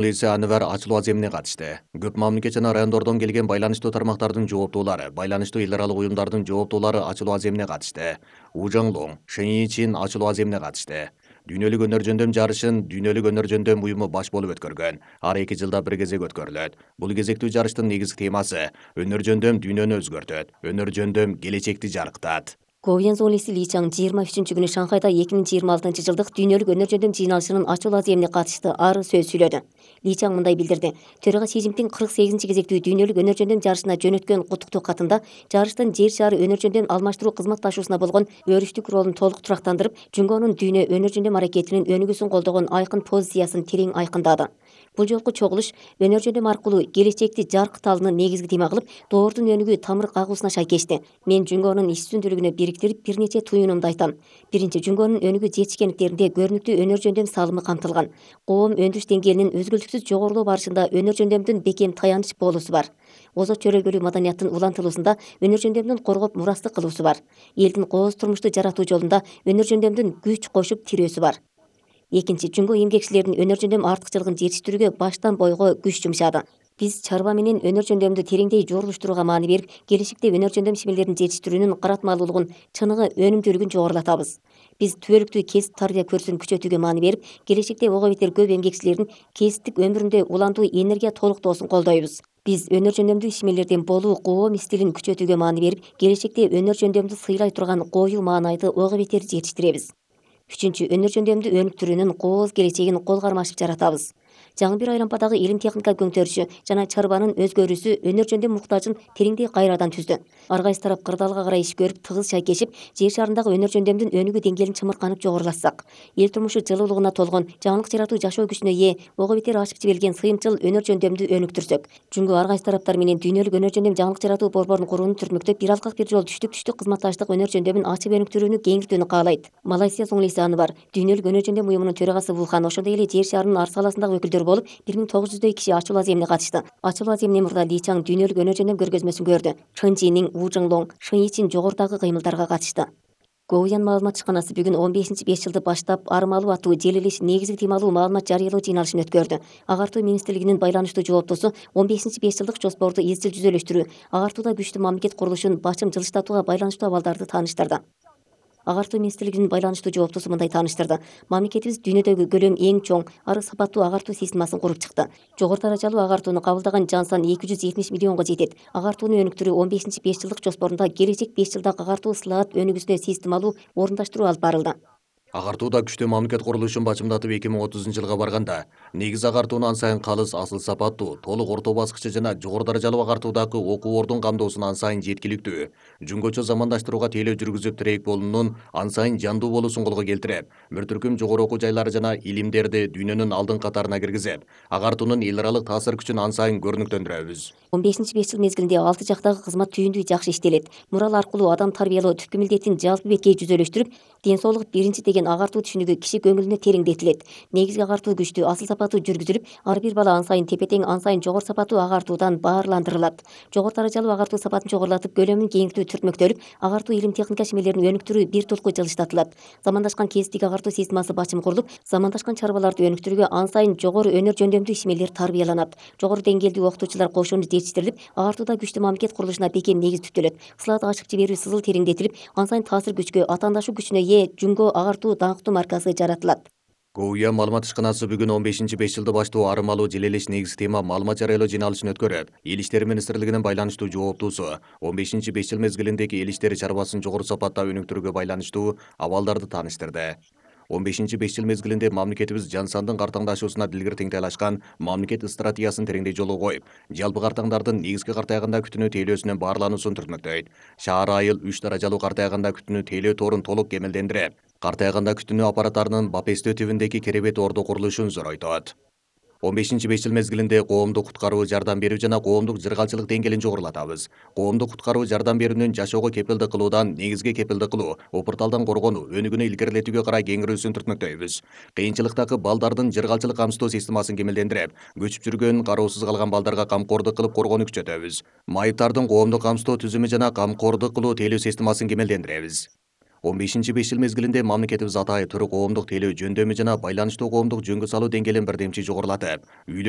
Полиция Анвар ачылуу аземине катышты. Көп мамлекет жана райондордон келген байланыштуу тармактардын жооптуулары, байланыштуу эл аралык уюмдардын жооптуулары ачылуу аземине катышты. Ужаңлоң, Шэньичин ачылуу аземине катышты. Дүйнөлүк өнөр жөндөм жарышын Дүйнөлүк өнөр жөндөм уюму баш болуп өткөргөн. Ар 2 жылда бир кезек өткөрүлөт. Бул кезектүү жарыштын негизги темасы өнөр жөндөм дүйнөнү өзгөртөт. Өнөр жөндөм келечекти жарыктат. Говьян Золиси Ли Чаң 23 күнү Шанхайда 2026 жылдык дүйнөлүк өнөр жөндөм жыйналышынын ачылуу аземине катышты. Ары сөз сүйлөдү. Ли Чаң мындай билдирди. Төрага Си Цзиньпин 48 кезектүү дүйнөлүк өнөр жөндөм жарышына жөнөткөн куттуктуу катында жарыштын жер шаары өнөр жөндөм алмаштыруу кызматташуусуна болгон өрүштүк ролун толук турактандырып, Жунгонун дүйнө өнөр жөндөм аракетинин өнүгүүсүн колдогон айкын позициясын терең айкындады. Бул жолку чогулуш өнөр жөндөм аркылуу келечекти жаркыталынын негизги тема кылып, доордун өнүгүү тамыр кагуусуна шайкешти. Мен Жунгонун иш үстүндүүлүгүнө бириктирип бир нече туюнумду айтам. Биринчи, Жунгонун өнүгүү жетишкендиктеринде көрүнүктүү өнөр жөндөм салымы камтылган. Коом өндүрүш деңгээлинин өзгөлтүксүз жогорулоо барышында өнөр жөндөмдүн бекем таяныч болуусу бар. Озот чөлөлгөлүү маданияттын улантылуусунда өнөр жөндөмдүн коргоп мурастык кылуусу бар. Элдин кооз турмушту жаратуу жолунда өнөр жөндөмдүн күч кошуп тирөөсү бар. Экинчи, Жунго эмгекчилердин өнөр жөндөм артыкчылыгын жетиштирүүгө баштан бойго күч жумшады. Биз чарба менен өнөр жөндөмдү тереңдей жорулуштурууга маани берип, келечекте өнөр жөндөм ишмерлерин жетиштирүүнүн каратмалуулугун, чыныгы, өнүмдүүлүгүн жогорулатабыз. Биз түбөлүктүү кесип тарбия көрсүн күчөтүүгө маани берип, келечекте ого бетер көп эмгекчилердин кесиптик өмүрүндө улантуу энергия толуктоосун колдойбуз. Биз өнөр жөндөмдүү ишмерлердин болуу коом стилин күчөтүүгө маани берип, келечекте өнөр жөндөмдү сыйлай турган коюу маанайды ого бетер жетиштиребиз. Үчүнчү, өнөр жөндөмдү өнүктүрүүнүн кооз келечегин кол кармашып жаратабыз. Жаңы бир айлампадагы илим техника көңтөрүшү жана чарбанын өзгөрүүсү өнөр жөндөм муктажын тереңдей кайрадан түздү. Ар кайсы тарап кырдаалга карай иш көрүп, тыгыз шайкешип, жер шарындагы өнөр жөндөмдүн өнүгүү деңгээлин чымырканып жогорулатсак, эл турмушу жылуулугуна толгон, жаңылык жаратуу жашоо күчүнө ээ, ого бетер ашып жиберилген сыйымчыл өнөр жөндөмдү өнүктүрсөк, Жунго ар кайсы тараптар менен дүйнөлүк өнөр жөндөм жаңылык жаратуу борборун курууну түртмөктөп, бир алкак бир жол түштүк кызматташтык өнөр жөндөмүн ачып өнүктүрүүнү кеңиртүүнү каалайт. Малайзия Зоңлиси Анвар, дүйнөлүк өнөр жөндөм уюмунун төрагасы Вулхан, ошондой эле жер шарынын ар саласындагы өкүлдөр болуп, 1900 киши ачылуу аземине катышты. Ачылуу аземинен мурда Ли Чаң дүйнөлүк өнөр жөндөм көргөзмөсүн көрдү. Чэньчжинин, Ужаңлоң, Шэньичин жогорудагы кыймылдарга катышты. Говьян маалымат ишканасы бүгүн 15-5 жылды баштап армалуу аттуу желилиш негизги темалуу маалымат жарыялоо жыйналышын өткөрдү. Агартуу министрлигинин байланыштуу жооптосу 15-5 жылдык жоспорду изчил жүзөлөштүрүү, агартууда күчтүү мамлекет курулушун бачым жылыштатууга байланыштуу абалдарды тааныштырды. Агартуу министрлигинин байланыштуу жооптосу мындай тааныштырды. Мамлекетибиз дүйнөдөгү көлөмү эң чоң, ары сапаттуу агартуу системасын куруп чыкты. Жогору даражалуу агартууну кабылдаган жан сан 270 миллионго жетет. Агартууну өнүктүрүү 15-5 жылдык жоспорунда келечек 5 жылдагы агартуу слаат өнүгүүсүнө системалуу орундаштыруу алып барылды. Агартууда күчтүү мамлекет курулушун бачымдатып 2030 жылга барганда, негиз агартууну ан сайын калыс, асыл сапаттуу, толук орто баскычы жана жогору даражалуу агартуудагы окуу ордун камдоосун ан сайын жеткиликтүү, жөнгөчө замандаштырууга тейлөө жүргүзүп тирейк болуунун ан сайын жандуу болуусун колго келтирип, бир түркүм жогору окуу жайлары жана илимдерди дүйнөнүн алдыңкы катарына киргизип, агартуунун эл аралык таасир күчүн ан сайын көрүнүктөндүрөбүз. 15-5 жыл мезгилинде 6 жактагы кызмат түйүндүү жакшы иштелет. Мурал аркылуу адам тарбиялоо түпкү милдетин жалпы беткей жүзөлөштүрүп, ден соолук биринчи деген агартуу түшүнүгү киши көңүлүнө тереңдетилет. Негизги агартуу күчтүү, асыл сапаттуу жүргүзүлүп, ар бир бала ан сайын тепе-тең, ан сайын жогору сапаттуу агартуудан баарландырылат. Жогору даражалуу агартуу сапатын чогорулатып, көлөмүн кеңиртүү түртмөктөлүп, агартуу илим техника ишмерлерин өнүктүрүү бир толку жылыштатылат. Замандашкан кесиптик агартуу системасы бачым курулуп, замандашкан чарбаларды өнүктүрүүгө ан сайын жогору өнөр жөндөмдүү ишмерлер тарбияланат. Жогору деңгээлдүү окутуучулар кошууну жетиштирилип, агартууда күчтүү мамлекет курулушуна бекем негиз түптөлөт. Слаат ачып жиберүү сызыл тереңдетилип, ан сайын таасир күчкө, атаандашуу күчүнө ээ Жунго агартуу даңктуу марказы жаратылат. Говьян маалымат ишканасы бүгүн 15-5 жылды баштоо армалуу желелеш негизги тема маалымат жарыялоо жыйналышын өткөрүп, Эл иштери министрлигинин байланыштуу жооптуусу 15-5 жыл мезгилиндеги эл иштери чарбасын жогору сапатта өнүктүрүүгө байланыштуу абалдарды тааныштырды. 15-5 жыл мезгилинде мамлекетибиз жан сандын картаңдашуусуна дилгир теңдей мамлекет стратегиясын тереңдей жолго коюп, жалпы картаңдардын негизги картаягында күтүнүү тейлөөсүнүн баарлануусун түртмөктөйт. Шаар айыл 3 даражалуу картаягында күтүнүү тейлөө торун толук кемелдендирип, картаягында күтүнүү аппараттарынын бапестөө түбүндөгү керебет ордо курулушун зоройтот. 15-5 жыл мезгилинде коомдук куткаруу жардам берүү жана коомдук жыргалчылык деңгээлин жогорулатабыз. Коомдук куткаруу жардам берүүнүн жашоого кепилдик кылуудан негизги кепилдик кылуу, опурталдан коргонуу, өнүгүүнү илгерилетүүгө карай кеңирүүсүн түртмөктөйбүз. Кыйынчылыктагы балдардын жыргалчылык камсыздоо системасын кемелдендирип, көчүп жүргөн, кароосуз калган балдарга камкордук кылып коргоону күчөтөбүз. Майыптардын коомдук камсыздоо түзүмү жана камкордук кылуу тейлөө системасын кемелдендиребиз. 15-5 жыл мезгилинде мамлекетибиз атайы түрк коомдук телөө жөндөмү жана байланыштуу коомдук жөнгө салуу деңгээлин бирдемчи жогорулатып, үйлөнүү